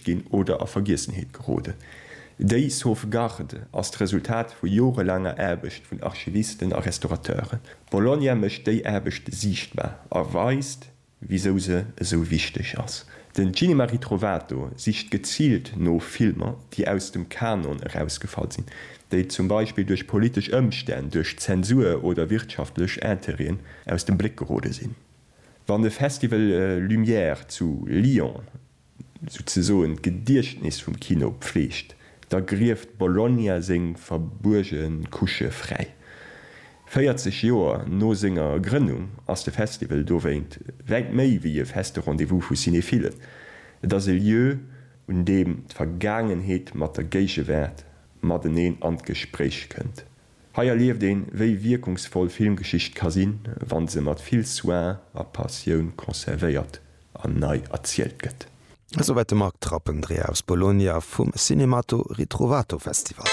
gefälscht ginn oder a Vergiessenheet geroden. Déi Sauvegarde ass d'Resultat vu jorelaanger Aarbecht vun Archivisten a Restaurateuren. Bologna mécht déi Aarbecht siichtbar a weist, wisou se esou wichteg ass. Den Cinema Ritrovato sicht geziilt no Filmer, déi aus dem Kanon erausgefall sinn, déi zum Beispill duerch politesch Ëmstänn, duerch Zensur oder wirtschaftlech Intérêten aus dem Bléck gerode sinn. Wann de Festival Lumière zu Lyon souzesoen d'Gediechtnes vum Kino pfleegt, da grieft Bologna seng verbuerge Couchë fräi. 40 Joer no senger Grënnung ass de Festival dowéint wäit méi wéi e feste Rendez-vous vu Cinéphilen. Et ass e Lieu, un deem d'Vergaangenheet mat der Géigewaart mateneen an d'Gespréich kënnt. Hei erlieft een, wéi wierkungsvoll Filmgeschicht ka sinn, wann se mat vill Soin a Passioun conservéiert an nei erzielt gëtt. Esouwäit de Marc Trappendreher aus Bologna vum Cinemato Ritrovato Festival.